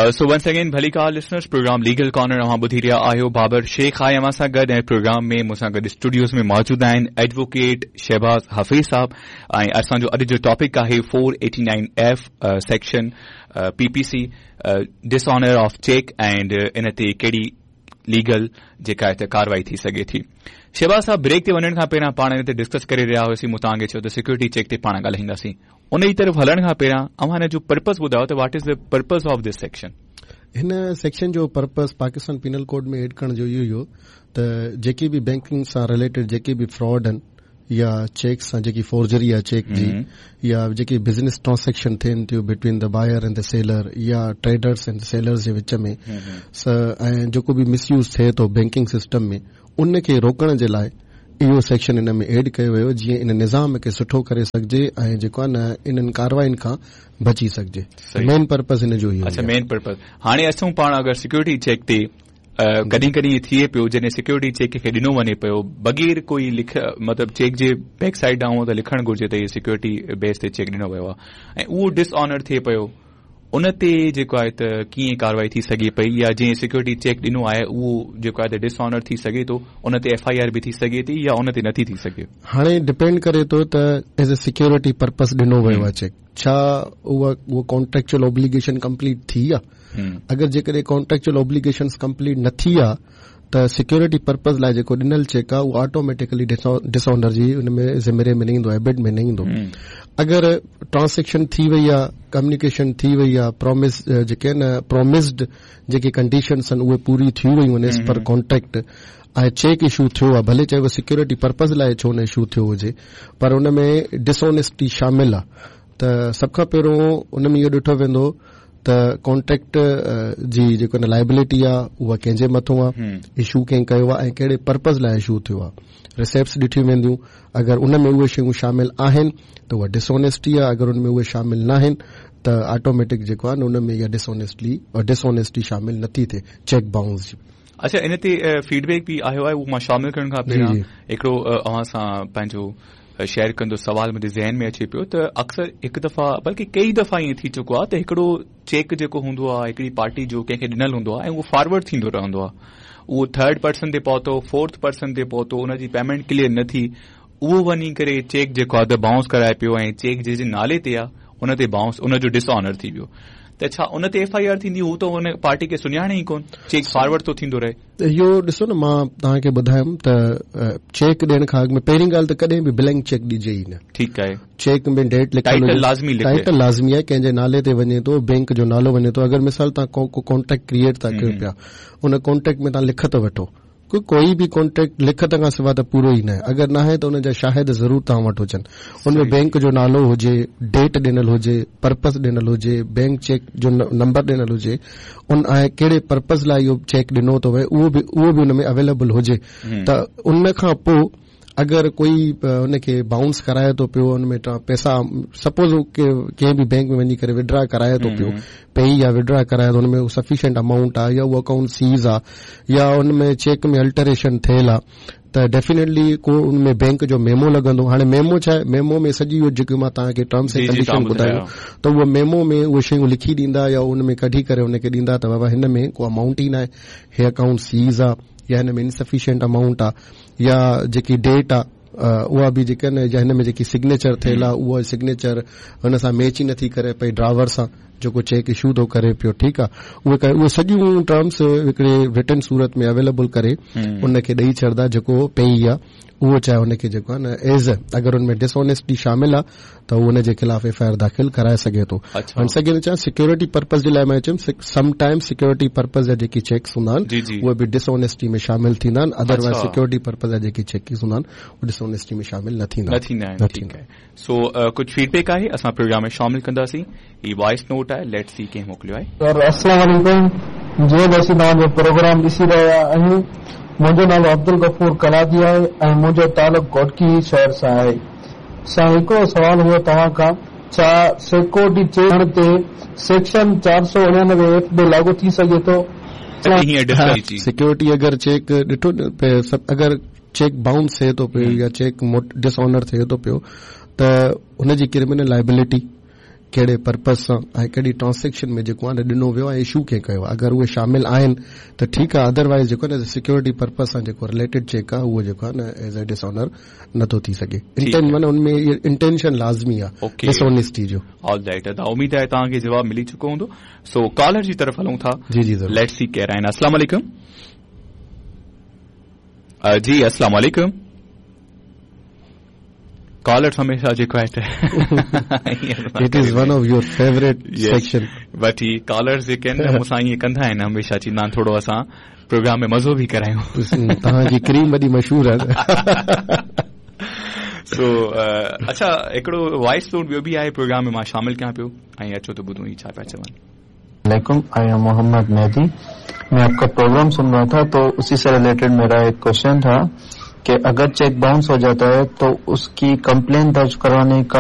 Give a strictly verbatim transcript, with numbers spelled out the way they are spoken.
So once again ڀليڪار listeners, programme legal corner اوهان ٻڌي رهيا آهيو. بابر شيخ آهي اوهان سان گڏ ۽ پروگرام ۾ مون سان گڏ اسٽوڊيوز ۾ موجود آهن ايڊووڪيٽ شهباز حفيظ صاحب ۽ اسان جو اڄ جو ٽاپڪ آهي four eighty nine F section P P C, dishonour of cheque and ان تي ڪهڙي ليگل جيڪا آهي ته ڪارروائي ٿي سگهي ٿي. شهباز صاحب، بريڪ تي وڃڻ کان پهريان پاڻ ان تي ڊسڪس ڪري رهيا هئاسين. مون توهان کي چيو ته سيڪيورٽي چيڪ تي پاڻ ڳالهائينداسين. ان جي طرف هلڻ کان پهريان اوهان هن جو پرپز ٻڌايو ته what is the purpose of this section? هن سيڪشن جو purpose Pakistan penal code ۾ add ڪرڻ جو اهو ئي هو ته جيڪي به بينڪنگ سان رليٽيڊ جيڪي به فراڊ آهن يا چيڪ سان جيڪي فورجري آهي چيڪ جي يا جيڪي بزنس ٽرانزيڪشن ٿين ٿيون between the buyer and the seller يا ٽريڊرس اينڊ سيلرز جي وچ ۾ ۽ جيڪو به مس يوز ٿئي ٿو بينڪنگ سسٽم ۾، ان کي روڪڻ جي لاء اهو سيڪشن ان ۾ ايڊ ڪيو ويو، جيئن ان نظام کي سٺو ڪري سگهجي ۽ جيڪو آهي نه انهن ڪارروائين کان بچي سگهجي. مين پرپز هن جو اهو. اڇا، مين پرپز. هاڻي اسان پاڻ اگر سيڪيورٽي چيڪ تي ڪڏهن ڪڏهن ٿئي پيو، جڏهن سيڪيورٽي چيڪ کي ڏنو وڃي پيو بغير ڪوئي لک، مطلب چيڪ جي بيڪ سائيڊ ڏانهن ته لکڻ گهرجي ته اهي سيڪيورٽي بيس تي چيڪ ڏنو ويو آهي ۽ اهو ڊس آنر ٿئي پيو، ان تي جيڪو آهي ته ڪيئن ڪارروائي ٿي سگهي پئي؟ يا جنهن سيڪيورٽي چيڪ ڏنو آهي اهو جيڪو آهي ته ڊس آنر ٿي سگهي ٿو، ان تي ايف I R به ٿي سگهي ٿي يا ان تي نٿي ٿي سگهي؟ هاڻي ڊپينڊ ڪري ٿو ته ايز اي سيڪيورٽي پرپز ڏنو ويو آهي چيڪ، ڇا اها اها ڪانٽريڪچوئل اوبليگيشن ڪمپليٽ ٿي آهي؟ اگر جيڪڏهن ڪانٽريڪچوئل اوبليگيشنس ڪمپليٽ نه ٿي آهي ته سيڪيورٽي پرپز لاءِ جيڪو ڏنل چيڪ آهي اهو آٽوميٽڪلي ڊس آنر جي ان ۾ زمري ۾ نه ايندو، ايبٽ ۾ نه ايندو. اگر ٽرانزيڪشن ٿي وئي آهي، ڪميونيڪيشن ٿي وئي آهي، پرومس جيڪي آهن، پرومسڊ جيڪي ڪنڊيشنس آهن، اهي پوري ٿي ويون آهن as per contract ۽ check issue ٿيو آهي، ڀلي چاهي اهو سيڪيورٽي پرپز لاءِ ڇو نه اشو ٿيو هجي، پر ان ۾ ڊسآنيسٽي شامل آهي ته سڀ کان پهريون ان ۾ اهو ڏٺو ويندو ته ڪانٽريڪٽ جي جيڪو لائبلٽي آهي اها ڪنهن جي مٿان آهي، اشو ڪنهن ڪيو آهي ۽ ڪهڙي پرپز لاءِ اشو ٿيو آهي. رسيپٽس ڏٺيون وينديون. اگر ان ۾ اهي شيون شامل آهن ته اها ڊسآنيسٽي آهي. اگر ان ۾ اهي شامل نه آهن ته آٽوميٽڪ جيڪو آهي نه ان ۾ اها ڊسآنيسٽي ڊسآنيسٽي شامل نٿي ٿئي چيڪ بائونس جي. اڇا، ان تي فيڊ بيڪ به آيو آهي. اهو مان شامل ڪرڻ کان پهريان هڪڙو اوهان سان پنهنجو شيئر ڪندو. سوال منهنجي ذهن ۾ اچي پيو ته اڪثر هڪ دفعا، بلڪه ڪئي دفعا ائين ٿي چڪو آهي ته هڪڙو چيڪ جيڪو هوندو آهي هڪڙي پارٽي جو ڪنهن کي ڏنل هوندو آهي ۽ اهو فارورڊ ٿيندو رهندو آهي. اهو ٿرڊ پرسن تي پهتو، فورٿ پرسن تي پهتو، ان جي پيمينٽ ڪليئر نه ٿي، اهو وڃي ڪري چيڪ جيڪو آهي ته بائونس ڪرائي پيو ۽ چيڪ جنهن جي نالي تي آهي ان تي بائونس، ان جو ڊس آنر ٿي ويو، ته ڇا ان تي ايف I R ٿيندي؟ هو ته ان پارٽي کي سڃاڻي ئي ڪونه، چيڪ فارورڊ ٿو ٿيندو رهي. اهو ڏسو نه، مان توهان کي ٻڌايم ته چيڪ ڏيڻ کان اڳ ۾ پهرين ڳالهه ته ڪڏهن به بلينڪ چيڪ ڏجي ئي نه. ٺيڪ آهي. چيڪ ۾ ڊيٽ لکيل، ٽائيٽل لازمي لکي، ٽائيٽل لازمي آهي، ڪنهن جي نالي تي وڃي ٿو، بينڪ جو نالو وڃي ٿو. اگر مثال توهان ڪو ڪانٽريڪٽ ڪريئيٽ ٿا ڪيو پيا، ان ڪانٽريڪٽ ۾ توهان لکت وٺو. ڪوئي به ڪانٽريڪٽ لکت کان سواءِ ته پورو ئي نه آهي. اگر نه آهي ته ان جا شاهد ضرور توهان وٽ هجن. ان ۾ بينڪ جو نالو هجي، ڊيٽ ڏنل هجي، پرپز ڏنل هجي، بينڪ چيڪ جو نمبر ڏنل هجي ان ۽ ڪهڙي پرپز لاءِ اهو چيڪ ڏنو ٿو وڃي، اهو به اهو به ان ۾ اويليبل هجي ته ان کان پوءِ اگر ڪوئي ان کي بائونس ڪرائي ٿو پيو، ان ۾ پئسا سپوز ڪنهن به بينڪ ۾ وڃي ڪري ودرا ڪرائي ٿو پيو پي يا ودرا ڪرائي ٿو، ان ۾ سفيشنٽ امائونٽ آهي يا اهو اڪائونٽ سيز آهي يا ان ۾ چيڪ ۾ الٽريشن ٿيل آهي ته ڊيفينيٽلي ڪو ان ۾ بينڪ جو ميمو لڳندو. هاڻي ميمو ڇا آهي؟ ميمو ۾ سڄي اهو جيڪي مان توهان کي ٽرمس ۽ ڪنڊيشن ٻڌايون ته اهو ميمو ۾ اهي شيون لکي ڏيندا يا ان ۾ ڪڍي ڪري ان کي ڏيندا ته بابا، هن ۾ ڪو امائونٽ ئي نه آهي، هي اڪائونٽ سيز آهي يا هن ۾ انسفيشنٽ امائونٽ آهي يا جيڪي ڊيٽ آهي اها به جيڪا نه يا هن ۾ جيڪي سگنيچر ٿيل آهي اها سگنيچر هن سان ميچ ئي نٿي ڪري پئي ڊراور سان جيڪو چيڪ اشو ٿو ڪري پيو. ٺيڪ آهي، اهي اهي سڄيون ٽرمس هڪڙي رٽن صورت ۾ اويليبل ڪري ان کي ڏيئي ڇڏندا. جيڪو پيئي آهي اهو چاهي ان کي جيڪو آهي نه ايز اگر ان ۾ ڊسآنيسٽي شامل آهي ته اهو ان جي خلاف ايف I R داخل ڪرائي سگهي ٿو. ونس اگين ڇا سيڪيورٽي پرپز جي لاءِ مان چيم، سم ٽائيم سيڪيورٽي پرپز جا جيڪي چيڪس هوندا آهن اهي به ڊسآنيسٽي ۾ شامل ٿيندا آهن. ادروائز سيڪيورٽي پرپز جا جيڪي چيڪس هوندا آهن اهي ڊسآنيسٽي ۾ شامل نه ٿيندا. نه ٿيندا آهن. ٺيڪ آهي. سو ڪجهه فيڊ بيڪ آهي، اسان پروگرام ۾ شامل ڪنداسين. هي وائس نوٽ آهي، let's see ڪنهن موڪليو آهي. سر، السلام عليڪم. جيئن اسين توهان جو پروگرام ڏسي رهيا آهيون، منهنجو نالو عبدل غفور ڪلادي آهي ۽ منهنجو تعلق گهوٽڪي شهر سان آهي. سائين، هڪڙو سوال هو توهان کان، ڇا سيڪيورٽي چيڪ تي سيڪشن چار سؤ اڻانوي ايف به لاڳو ٿي سگهي ٿو؟ سيڪيورٽي اگر چيڪ ڏٺو، اگر چيڪ بائونس ٿئي ٿو پيو يا چيڪ ڊس آنر ٿئي ٿو پيو ته هن جي ڪرمنل لائبلٽي कहिड़े पर्पस सां ऐं कहिड़ी ट्रांज़ेक्शन में जेको आहे न ॾिनो वियो आहे, इशू कंहिं कयो आहे। अगरि उहे शामिल आहिनि त ठीकु आहे, अदरवाइज़ जेको आहे न सिक्योरिटी पर्पस सां जेको रिलेटेड चेक आहे उहो जेको आहे न एज अ डिसऑनर नथो थी सघे। इंटेंट माना उन में इंटेंशन लाज़मी आहे डिसऑनेस्टी जो। ऑल राइट, अदा उम्मीद आहे तव्हांखे जवाबु मिली चुको हूंदो। सो कॉलर जी तरफ़ हलूं था। जी जी, let's see केरु आहिनि। अस्सलाम वालेकुम। जी अस्सलाम वालेकुम। कॉलर्स हमेशा जेको आहे त it is one of your favourite section. But he callers जेके आहिनि न मूंसां ईअं कंदा आहिनि, हमेशा चवंदा आहिनि थोरो असां प्रोग्राम में मज़ो बि करायूं। तव्हांजी क्रीम वॾी मशहूर आहे। सो अच्छा, हिकिड़ो वॉइस नोट ॿियो बि आहे प्रोग्राम में मां शामिल कयां पियो ऐं अचो त ॿुधूं ई छा पिया चवनि। वालेकुम, I am Mohammad Mehdi. मैं आपका प्रोग्राम सुन रहा था तो उसी से रिलेटेड मेरा एक क्वेश्चन था कि अगर चेक बाउंस हो जाता है तो उसकी कंप्लेन दर्ज करवाने का